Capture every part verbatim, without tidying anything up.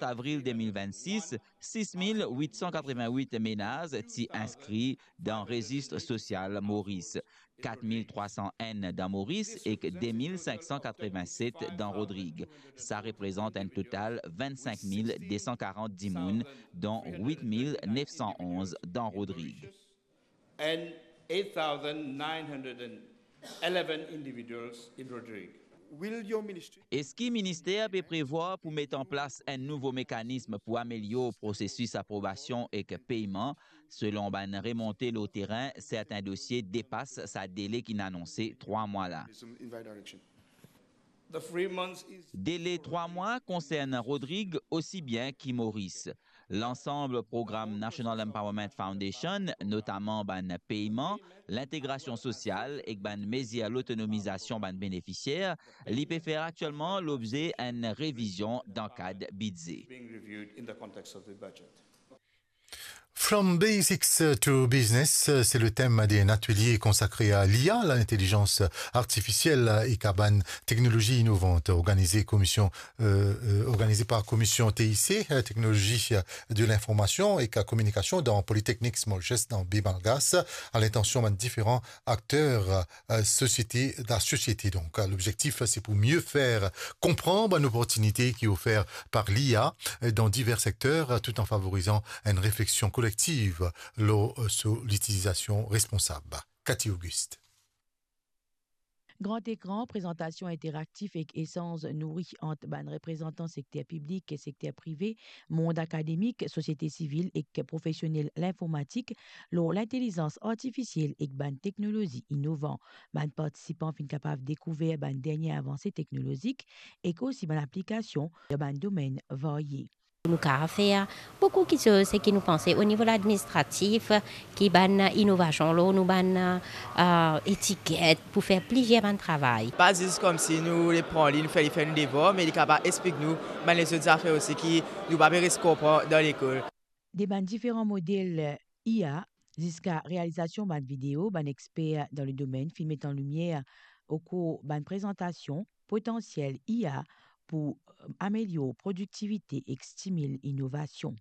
Avril de mil vennsis, sis mil wit san katreven-wit menaz ti inskri dan rezis sosial Moris, kat mil trwa san enn dan Moris ek de mil sink san katreven-set dan Rodrig. Sa reprezant enn total vennsenk mil de san karant dimoun, don wit mil nef san onz dan Rodrig. And eight thousand nine hundred eleven individuals in Rodrig. Will your ministry Eski minister pe prevwar pou met an plas enn nouvo mekanism pou amelior prosesis aprobasion ek peyman? Selon bann remonte lor terin, sertin dosie depas sa dele ki'nn anonse trwa mwa la. The three months is Dele trwa mwa konsern Rodrig osi bien ki Moris. Lansam program National Empowerment Foundation, notaman bann peyman, lintegrasion sosial ek bann mezir lotonomizasion bann benefisier, li pe fer aktielman lobze enn revizion dan kad bidze. Being reviewed in the context of the budget. From Basics to Business, c'est le thème d'un atelier consacré à l'I A, l'intelligence artificielle et à bann technologies innovantes, organisé, commission, euh, euh, organisé par Commission T I C, euh, Technologie, euh, de l'information et communication dans Polytechnique Mauritius dans Baie Malgache, à l'intention de différents acteurs, euh, société, de la société. Donc, euh, l'objectif, c'est pour mieux faire comprendre une opportunité qui est offerte par l'I A dans divers secteurs, tout en favorisant une réflexion collective lor, euh, sur l'utilisation responsable. Cathy Auguste. Grand ekran, prezantasion interaktif ek esanz nouri ant bann reprezantan sekter piblik, sekter prive, mond akademik, sosiete sivil ek profesionel linformatik lor lintelizans artifisiel ek bann teknolozi inovan. Bann partisipan finn kapav dekouver bann dernie avanse teknolozik ek osi bann aplikasion dan bann domenn varye. Nou kapav fer boukou kiksoz seki nou panse o nivo ladministratif, ki bann inovasion lor nou bann, ah, etiket pou fer plizier bann travay. Pa zis koumsi nou le pran li, nou fer li fer nou devwar, me li kapav explik nou bann lezot zafer osi ki nou pa pe res konpran dan lekol. De bann diferan model I A ziska realizasion bann video, bann exper dan le domenn finn met an limier okour bann prezantasion potansiel I A pou, eh, amelior produktivite ek stimil inovasion.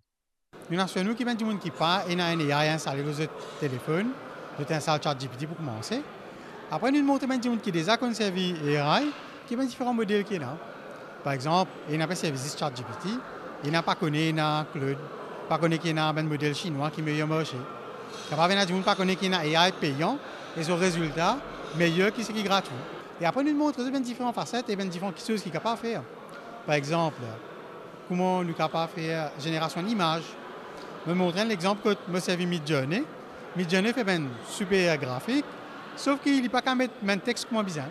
Nou asir nou ki bann dimoun ki pa ena enn A I instale lor zot telefonn, zot instal ChatGPT pou koumanse. Apre nou montre bann dimoun ki deza konn servi A I, ki bann diferan model ki ena. Par exanp, ena pe servi zis ChatGPT, ena pa kone ena Claude, pa kone ki ena bann model sinwa ki meyer marse. Kapav ena dimoun pa kone ki ena A I peyan e so rezilta meyer ki seki gratwi. E apre nou montre zot bann diferan faset e bann diferan kiksoz ki kapav fer. Par exanp, kouma nou kapav fer zenerasion imaz. Mo montre enn lexanp kot mo servi Midjourney. Midjourney fer bann siper grafik, sof ki li pa kapav met bann text kouma bizin.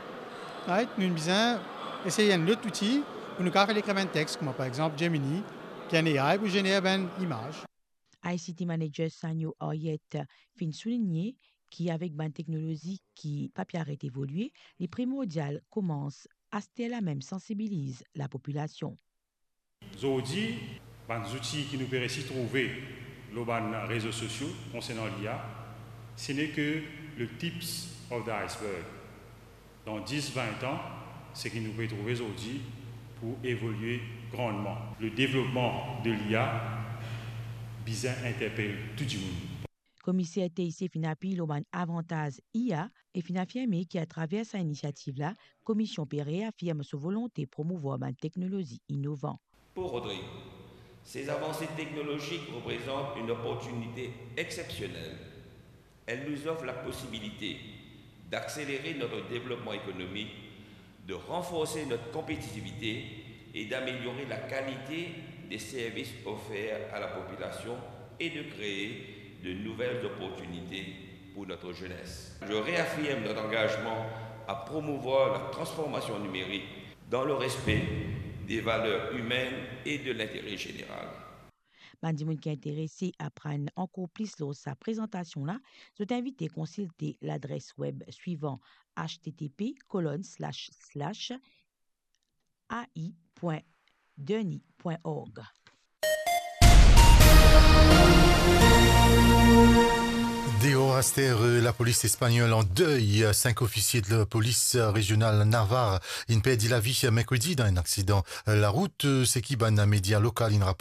Right? Nou bizin esey enn lot outi pou nou kapav fer li ekrir bann text, kouma par exanp Gemini, ki enn A I pou zener bann imaz. I C T manager Sanyo Ariet finn souligne ki avek bann teknolozi ki pa pe aret evolie, li primordial koumans aster la mem sansibiliz lapopilasion. Zordi, bann zouti ki nou pe resi trouve lor bann rezo sosio konsernan l'I A, ce n'est que le tips of the iceberg. Dan dis, vin an, seki nou pe trouve zordi pou evolie grandman. Le devlopman de l'I A bizin interpel tou dimoun. Komiser T I C finn apiy lor bann avantaz I A e finn afirme ki atraver sa inisiativ la, Komision pe reafirm so volonte promouvwar bann teknolozi inovan. Pour Rodrigue, ces avancées technologiques représentent une opportunité exceptionnelle. Elles nous offrent la possibilité d'accélérer notre développement économique, de renforcer notre compétitivité et d'améliorer la qualité des services offerts à la population et de créer de nouvelles opportunités pour notre jeunesse. Je réaffirme notre engagement à promouvoir la transformation numérique dans le respect des valeurs humaines et de l'intérêt général. Bann dimoun ki interese aprann ankor plis lor sa prezantasion la, zot invite konsilte ladres web swivan, H T T P colon slash slash A I point derni point org. Deor aster, euh, lapolis espagnol an dey, sink ofisie de lapolis, euh, rezional Navarre inn perdi lavi merkredi dan enn aksidan, euh, larout, euh, seki bann media lokal inn